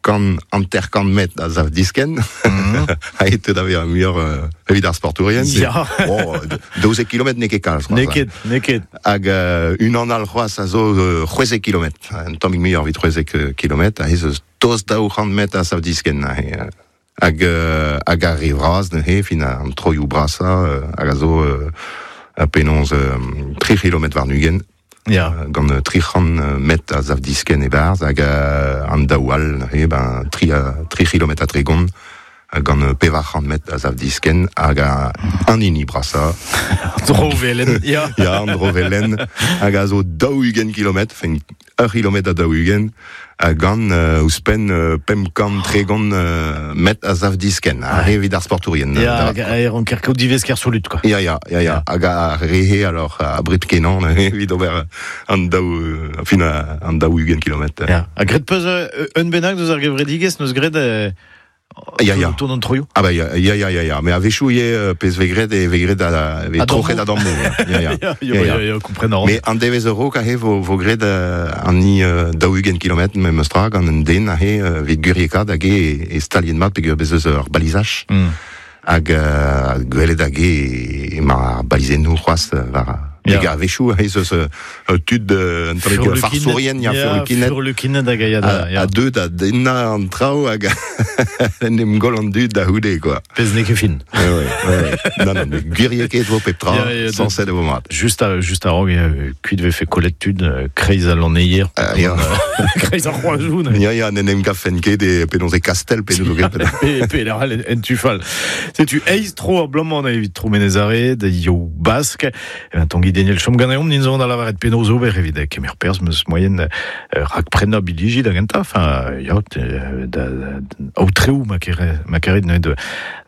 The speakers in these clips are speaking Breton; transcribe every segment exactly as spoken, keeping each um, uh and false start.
kant hanter-kant metr a zav disken. Ha e teu da vezañ muioc'h euh, evit ar sportourien. Ya. Bon, daouzek kilometr n'eo ket kalz. N'eo ket, n'eo ket. Hag euh, unan all c'hoazh a zo euh, c'hwezek kilometr. Un tammig muioc'h evit c'hwezek kilometr, a ez eus tost daou c'hant metr a zav disken. Aze. Hag, euh, hag ar re vras neuze, fin an troioù brasañ, euh, hag a zo euh, penaos euh, tri kilometr warn-ugent. Ya. Gant tri c'hant metr a zav disken e-barzh, hag an daou all neuze, ben, tri, tri kilometr ha tregont, gant pevar c'hant metr a zav disken, hag an hini brasañ. Drovelen, ya. Ya, an drovelen, hag a zo daou-ugent kilometr, fin, ur kilometr ha daou-ugent, gant euh, ouzhpenn euh, pemp kant tregont euh, metr a zav disken, a re evit ar sportourien. Ya, hag a ranker kaout divesker solut, quoi. Ya, ya, ya, ya, hag a rehe, alors, a bret kenan, evit ober an daou, fin, an daou-ugent kilometr. Ya, ha graet peus un bennak deus ar gevredigezh neus graet euh, Ya, ya. Tour an troioù. Ah bah ya, ya, ya, ya, ya. Mais a-wechoù ivez pezh vez graet e vez graet a, vez troc'het a dammoù. Ya, ya. Ya, ya, ya, ya, kompren a ran. Mais an devezh a-raok aze vo, vo graet an ni daou-ugent kilometr memes tra gant un den aze evit gwiriekaat hag e, e stalien mat peogwir bez eus ur balizaj. Mm. Hag uh, gwelet hag e emañ ar balizennoù c'hoazh war... Ya. Hag a-wechoù ez eus tud un tammig farsourien, ya, furlukined. Furlukined hag a ya da, ya. A deu da dennañ an traoù hag en em goll an dud da c'houde, quoi. Pezh n'eo ket fin. Ouais, ouais, ouais. Non, non, mais gwiriekaet vo pep tra, sañset e vo mat. Just a, just a-raok, kuit vefe kollet tud, kreiz al lanneier. Uh, ya. Kreiz ar c'hoazoù. Ya, ya, n'en em gavfen ket e penaos e Kastel, penaos o ket. Pe, pe l'ar en tufal. Setu eizh tro ar bloaz-mañ evit tro Menez-Are, da Ioù Bask. E ben, Tanguy Daniel chom ganeomp, nin zo da lavaret penaos ober evit kemer perzh meus moyen rak prenañ bilhiji da gentañ, enfin, ya, da, aotreoù ma kere, ma keret neuze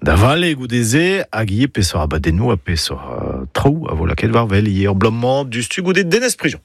da vale goude-se, hag ivez peseurt abadennoù ha peseurt traoù a vo lakaet war wel ivez ur bloaz-mañ dustu goude Denez Prigent.